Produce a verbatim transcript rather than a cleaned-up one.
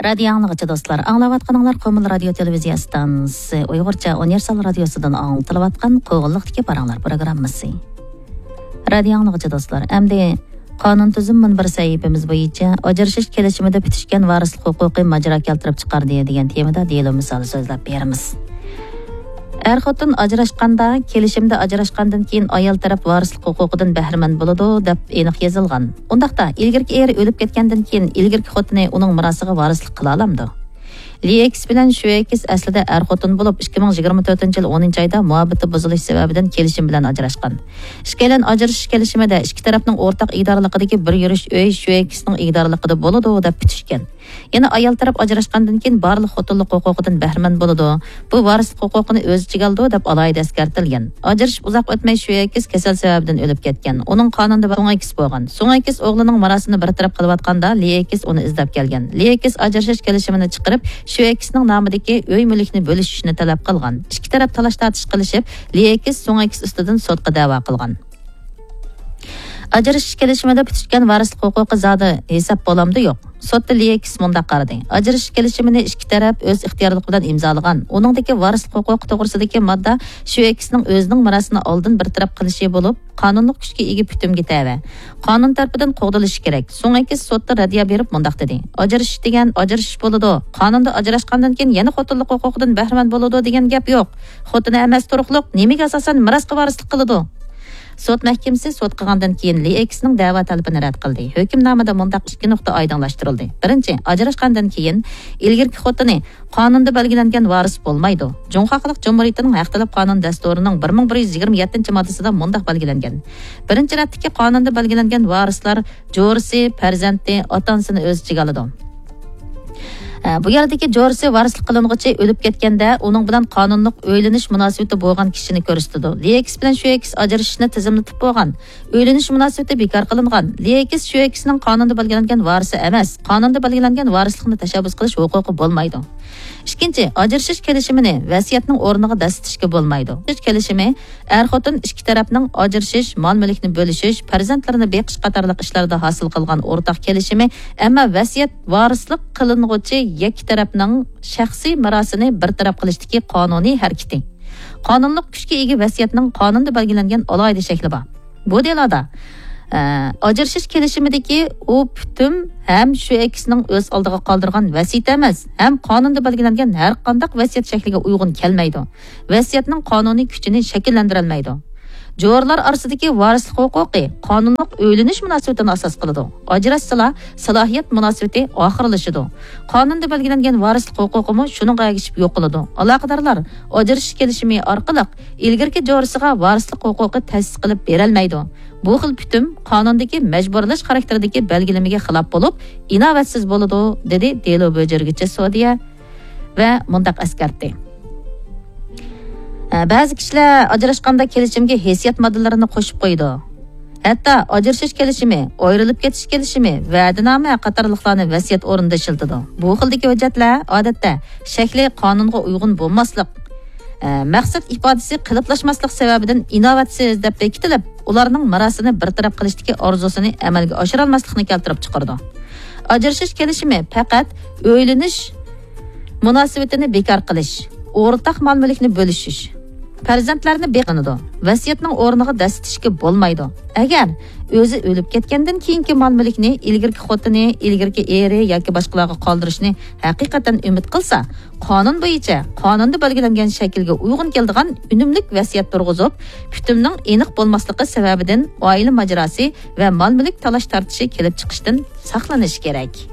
رادىيو ئاڭلىغۇچى دوستلار، ئاڭلاۋاتقىنىڭلار قومۇل رادىيو تېلېۋىزىيە ئىستانسىسى ئۇيغۇرچە ئۇنىۋېرسال رادىيوسىدىن ئاڭلىتىلىۋاتقان قوغۇنلۇقتىكى پاراڭلار پروگراممىسى. رادىيو ئاڭلىغۇچى دوستلار، ئەمدى قانۇن تۈزۈم مۇنبىرى سەھىپىمىز بويىچە ئاجرىشىش كېلىشىمىدە پۈتۈشكەن ۋارىسلىق ھوقۇقى ماجىرا كەلتۈرۈپ چىقاردى دېگەن تېمىدا دېلو مىسالى سۆزلەپ بېرىمىز. ئەر-خوتۇن ئاجراشقاندا، كېلىشىمدە ئاجراشقاندىن كېيىن ئايال تەرەپ ۋارىسلىق ھوقۇقىدىن بەھرىمەن بولىدۇ، دەپ ئېنىق يېزىلغان. ئۇنداقتا، ئىلگىرىكى ئېرى ئۆلۈپ كەتكەندىن كېيىن ئىلگىرىكى خوتۇنى ئۇنىڭ مىراسىغا ۋارىسلىق قىلالامدۇ؟ لى ئېكس بىلەن شۈ ئېكس ئەسلىدە ئەر-خوتۇن بولۇپ، ئىككى مىڭ يىگىرمە تۆتىنچى يىل ئونىنچى ئايدا مۇھەببىتى بۇزۇلۇش سەۋەبىدىن كېلىشىم بىلەن ئاجراشقان. ئىككىيلەن ئاجرىشىش كېلىشىمىدە ئىككى تەرەپنىڭ ئورتاق ئىگىدارلىقىدىكى بىر يۈرۈش ئۆي شۈ ئېكسنىڭ ئىگىدارلىقىدا بولىدۇ، دەپ پۈتۈشكەن. يەنە ئايال تەرەپ ئاجراشقاندىن كېيىن بارلىق خوتۇنلۇق ھوقۇقىدىن بەھرىمەن بولىدۇ. بۇ ۋارىسلىق ھوقۇقىنى ئۆز ئىچىگە ئالىدۇ، دەپ ئالاھىدە ئەسكەرتىلگەن. ئاجرىشىپ ئۇزاق ئۆتمەي شۈ ئېكس كەسەل سەۋەبىدىن ئۆلۈپ كەتكەن. ئۇنىڭ قانۇندا سۇڭ ئېكس بولغان. سۇڭ ئېكس ئوغلىنىڭ مىراسىنى بىر تەرەپ قىلىۋاتقاندا، لى ئېكس ئۇنى ئىزدەپ كەلگەن. لى ئېكس ئاجرىشىش كېلىشىمىنى چىقىرىپ، شۈ ئېكسنىڭ نامىدىكى ئۆي مۈلۈكنى بۆلۈشۈشنى تەلەپ قىلغان. ئىككى تەرەپ تالاش-تارتىش قىلىشىپ، لى ئېكس سۇڭ ئېكس ئۈستىدىن سوتقا دەۋا قىلغان. ئاجرىشىش كېلىشىمىدە پۈتۈشكەن ۋارىسلىق ھوقۇقى زادى ھېساب بولامدۇ؟ يوق. سوتتا لى ئېكس مۇنداق قارىدى: ئاجرىشىش كېلىشىمىنى ئىككى تەرەپ ئۆز ئىختىيارلىقى بىلەن ئىمزالىغان. ئۇنىڭدىكى ۋارىسلىق ھوقۇقى توغرىسىدىكى ماددا شۈ ئېكسنىڭ ئۆزىنىڭ مىراسىنى ئالدىن بىر تەرەپ قىلىشى بولۇپ، قانۇنلۇق كۈچكە ئىگە پۈتۈمگە تەۋە. قانۇن تەرىپىدىن قوغدىلىشى كېرەك. سۇڭ ئېكس سوتتا رەددىيە بېرىپ مۇنداق دېدى: ئاجرىشىش دېگەن ئاجرىشىش بولىدۇ. قانۇندا ئاجراشقاندىن كېيىن يەنە خوتۇنلۇق ھوقۇقىدىن بەھرىمەن بولىدۇ دېگەن گەپ يوق. خوتۇنى ئەمەس تۇرۇقلۇق نېمىگە ئاساسەن مىراسقا ۋارىسلىق قىلىدۇ؟ سوت مەھكىمىسى سوت قىلغاندىن كېيىن لى ئېكسنىڭ دەۋا تەلىپىنى رەت قىلدى. ھۆكۈمنامىدە مۇنداق ئىككى نۇقتا ئايدىڭلاشتۇرۇلدى. بىرىنچى، ئاجراشقاندىن كېيىن ئىلگىرىكى خوتۇنى قانۇندا بەلگىلەنگەن ۋارىس بولمايدۇ. جۇڭخۇا خەلق جۇمھۇرىيىتىنىڭ ھەق تەلەپ قانۇن دەستۇرىنىڭ بىر مىڭ بىر يۈز يىگىرمە يەتتىنچى ماددىسىدا مۇنداق بەلگىلەنگەن: بىرىنچى رەتتىكى قانۇندا بەلگىلەنگەن ۋارىسلار جورىسى، پەرزەنتى، ئاتا-ئانىسىنى ئۆز ئىچىگە ئالىدۇ. ئە، بۇ يەردىكى جورىسى ۋارىسلىق قىلىنغۇچى ئۆلۈپ كەتكەندە، ئۇنىڭ بىلەن قانۇنلۇق ئۆيلىنىش مۇناسىۋىتى بولغان كىشىنى كۆرسىتىدۇ. لى ئېكس بىلەن شۈ ئېكس ئاجرىشىشنى تىزىملىتىپ بولغان. ئۆيلىنىش مۇناسىۋىتى بىكار قىلىنغان. لى ئېكس شۈ ئېكسنىڭ قانۇندا بەلگىلەنگەن ۋارىسى ئەمەس. قانۇندا بەلگىلەنگەن ۋارىسلىقنى تەشەببۇس قىلىش ھوقۇقى بولمايدۇ. ئىككىنچى، ئاجرىشىش كېلىشىمىنى ۋەسىيەتنىڭ ئورنىغا دەسسىتىشكە بولمايدۇ. ئاجرىشىش كېلىشىمى ئەر-خوتۇن ئىككى تەرەپنىڭ ئاجرىشىش، مال-مۈلۈكنى بۆلۈشۈش، پەرزەنتلىرىنى بېقىش قاتارلىق ئىشلاردا ھاسىل قىلغان ئورتاق كېلىشىمى، ئەمما ۋەسىيەت ۋارىسلىق قىلىنغۇچى يەككە تەرەپنىڭ شەخسىي مىراسىنى بىر تەرەپ قىلىشتىكى قانۇنىي ھەرىكىتى. قانۇنلۇق كۈچكە ئىگە ۋەسىيەتنىڭ قانۇندا بەلگىلەنگەن ئالاھىدە شەكلى بار. بۇ دېلودا، ئە، ئاجرىشىش كېلىشىمىدىكى ئۇ پۈتۈم ھەم شۈ ئېكسنىڭ ئۆز ئالدىغا قالدۇرغان ۋەسىيىتى ئەمەس، ھەم قانۇندا بەلگىلەنگەن ھەر قانداق ۋەسىيەت شەكلىگە ئۇيغۇن كەلمەيدۇ. ۋەسىيەتنىڭ قانۇنىي كۈچىنى شەكىللەندۈرەلمەيدۇ. جورىلار ئارىسىدىكى ۋارىسلىق ھوقۇقى قانۇنلۇق ئۆيلىنىش مۇناسىۋىتىنى ئاساس قىلىدۇ. ئاجراشسىلا، سالاھىيەت مۇناسىۋىتى ئاخىرلىشىدۇ. قانۇندا بەلگىلەنگەن ۋارىسلىق ھوقۇقىمۇ شۇنىڭغا ئەگىشىپ يوقىلىدۇ. ئالاقىدارلار ئاجرىشىش كېلىشىمى ئارقىلىق ئىلگىرىكى جورىسىغا ۋارىسلىق ھوقۇقى تەسىس قىلىپ بېرەلمەيدۇ. بۇ خىل پۈتۈم قانۇندىكى مەجبۇرلاش خاراكتېرىدىكى بەلگىلىمىگە خىلاپ بولۇپ، ئىناۋەتسىز بولىدۇ، دېدى دېلو بۆجۈرگۈچى سودىيە ۋە مۇنداق ئەسكەرتتى. ئە، بەزى كىشىلەر ئاجراشقاندا كېلىشىمگە ھېسسىيات ماددىلىرىنى قوشۇپ قويىدۇ. ھەتتا ئاجرىشىش كېلىشىمى، ئايرىلىپ كېتىش كېلىشىمى، ۋەدىنامە قاتارلىقلارنى ۋەسىيەت ئورنىدا ئىشلىتىدۇ. بۇ خىلدىكى ھۆججەتلەر، ئادەتتە، شەكلى قانۇنغا ئۇيغۇن بولماسلىق، ئە، مەقسەت ئىپادىسى قېلىپلاشماسلىق سەۋەبىدىن ئىناۋەتسىز دەپ بېكىتىلىپ، ئۇلارنىڭ مىراسىنى بىر تەرەپ قىلىشتىكى ئارزۇسىنى ئەمەلگە ئاشۇرالماسلىقنى كەلتۈرۈپ چىقىرىدۇ. ئاجرىشىش كېلىشىمى پەقەت ئۆيلىنىش مۇناسىۋىتىنى بىكار قىلىش، ئورتاق مال-مۈلۈكنى بۆلۈشۈش، پەرزەنتلەرنى بېقىنىدۇ. ۋەسىيەتنىڭ ئورنىغا دەسسىتىشكە بولمايدۇ. ئەگەر ئۆزى ئۆلۈپ كەتكەندىن كېيىنكى مال-مۈلۈكنى ئىلگىرىكى خوتۇنى، ئىلگىرىكى ئېرى ياكى باشقىلارغا قالدۇرۇشنى ھەقىقەتەن ئۈمىد قىلسا، قانۇن بويىچە قانۇندا بەلگىلەنگەن شەكىلگە ئۇيغۇن كېلىدىغان ئۈنۈملۈك ۋەسىيەت تۇرغۇزۇپ، پۈتۈمنىڭ ئېنىق بولماسلىقى سەۋەبىدىن ئائىلە ماجىراسى ۋە مال-مۈلۈك تالاش-تارتىشى كېلىپ چىقىشتىن ساقلىنىشى كېرەك.